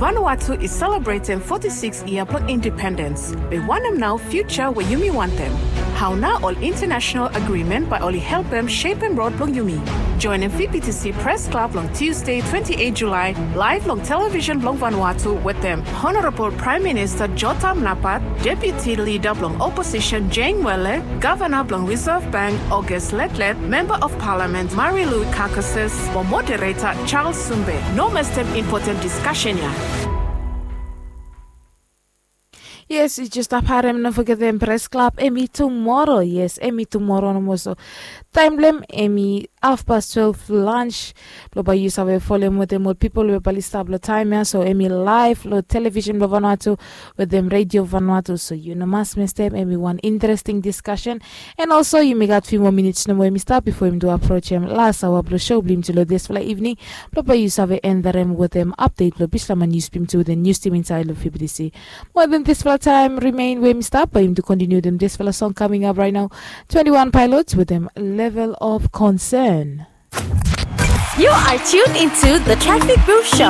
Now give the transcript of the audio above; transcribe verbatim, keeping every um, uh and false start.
Vanuatu i selebretem foti sikis yia blong independens. Be wanem nao fiuja we yumi wantem? Hao nao ol intanasenal agrimen bae oli helpem sepem rod blong yumi? Joenem V B T C Pres Klab long Tusde twenti eit Julae laev long televisen blong Vanuatu wetem Honorabol Praem Minista Jotam Napat, Deputi Lida blong Oposisen Jane Wele, Gavana blong Risev Bank August Letlet, Memba of Palamen Marilu Carcasses mo Modereta Charles Sumbe. No mestem impoten diskasen ya. Yes, yu jes stap harem, no fogetem Pres Klab hemi tumoro. Yes, hemi tumoro nomo, so taem blong hem hemi hafpas twelef lans. Blong bae yu save folem wetem ol pipol we bae oli stap long taem ya, so hemi laev long televisen blong Vanuatu wetem Redio Vanuatu, so yu no mas mestem. Hemi wan interesting diskasen. And also yumi gat fiu moa minits nomo hemi stap bifo yumi tu aprojem las aoa blong sou blong yumi tu long disfala ivning, blong bae yu save endarem wetem apdet blong bislama nius blong yumi tu wetem nius tim insaed long V B T C. Mo wetem disfala taem rimen we hemi stap, bae yumi tu kontiniu wetem disfala song kaming ap raet nao, Twenty One Pilots wetem Level of Concern. You are tuned into the Traffic Booth Show.